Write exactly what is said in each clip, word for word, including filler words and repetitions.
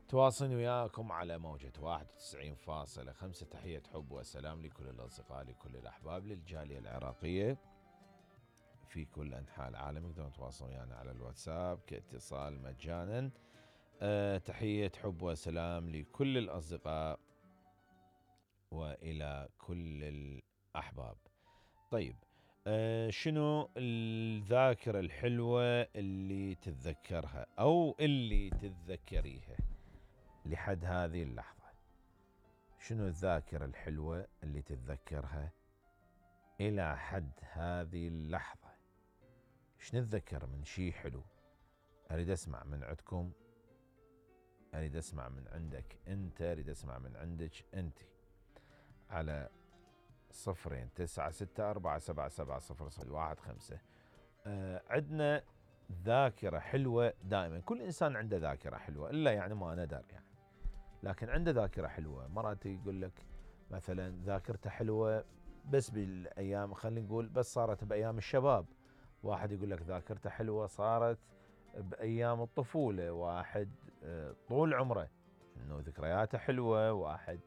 تواصلني وياكم على موجة واحد وتسعين فاصلة خمسة. تحية حب وسلام لكل الأصدقاء، لكل الأحباب، للجالية العراقية في كل أنحاء العالم. يقدرون يتواصلون ويانا على الواتساب كاتصال مجانا. أه تحية حب وسلام لكل الأصدقاء وإلى كل الأحباب. طيب، أه شنو الذاكرة الحلوة اللي تتذكرها أو اللي تتذكريها لحد هذه اللحظة؟ شنو الذاكرة الحلوة اللي تتذكرها إلى حد هذه اللحظة؟ شنو نتذكر من شيء حلو؟ أريد أسمع من عندكم، أريد أسمع من عندك أنت، أريد أسمع من عندك أنت على صفرين تسعة ستة أربعة سبعة سبعة صفر صفر واحد خمسة. آه عندنا ذاكرة حلوة دائما، كل إنسان عنده ذاكرة حلوة إلا يعني ما ندر يعني، لكن عنده ذاكرة حلوة. مرات يقول لك مثلا ذاكرته حلوة بس بالأيام، خلينا نقول بس صارت بأيام الشباب. واحد يقول لك ذاكرته حلوة صارت بأيام الطفولة. واحد طول عمره إنه ذكرياته حلوة. واحد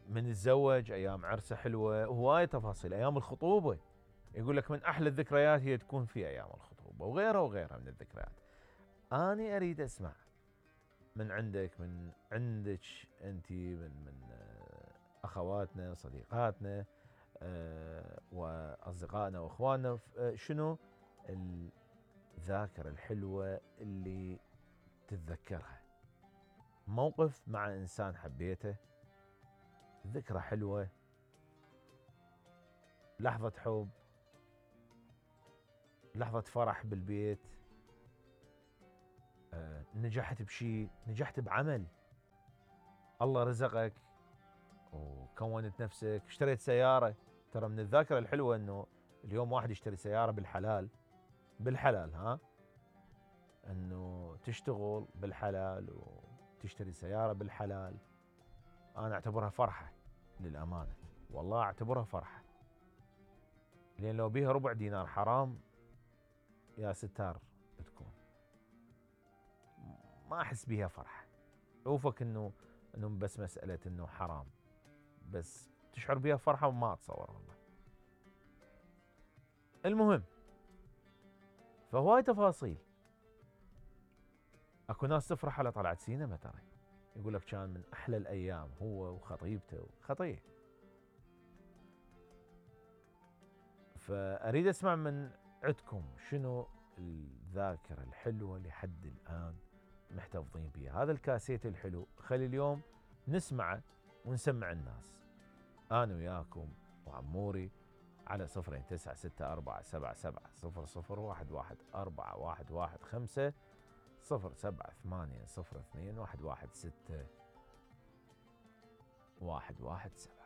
من الزوج أيام عرسه حلوة. هواية تفاصيل. أيام الخطوبة يقول لك من أحلى الذكريات هي تكون في أيام الخطوبة، وغيرها وغيرها من الذكريات. أنا أريد أسمع من عندك، من عندك أنت، من من أخواتنا صديقاتنا وأصدقائنا وأخواننا، شنو الذاكرة الحلوة اللي تتذكرها؟ موقف مع إنسان حبيته، ذكرى حلوة، لحظة حب، لحظة فرح بالبيت، أه، نجحت بشيء، نجحت بعمل، الله رزقك وكونت نفسك، اشتريت سيارة. ترى من الذاكرة الحلوة انه اليوم واحد يشتري سيارة بالحلال، بالحلال ها، انه تشتغل بالحلال وتشتري سيارة بالحلال. انا اعتبرها فرحة للأمانة، والله اعتبرها فرحة، لان لو بيها ربع دينار حرام يا ستار تكون ما احس بيها فرحة. اوفك انه انه بس مسألة انه حرام، بس تشعر بيها فرحة وما اتصور والله. المهم، فهواي تفاصيل. اكو ناس تفرح على طلعت سينما، ترى يقول لك كان من احلى الايام هو وخطيبته خطيه. فاريد اسمع من عندكم شنو الذاكرة الحلوة لحد الان محتفظين بها. هذا الكاسيت الحلو خلي اليوم نسمعه ونسمع الناس. انا وياكم وعموري على صفرين تسعة ستة أربعة سبعة سبعة صفر صفر واحد واحد أربعة واحد واحد خمسة صفر سبعة ثمانية صفر اثنين واحد واحد ستة واحد واحد سبعة.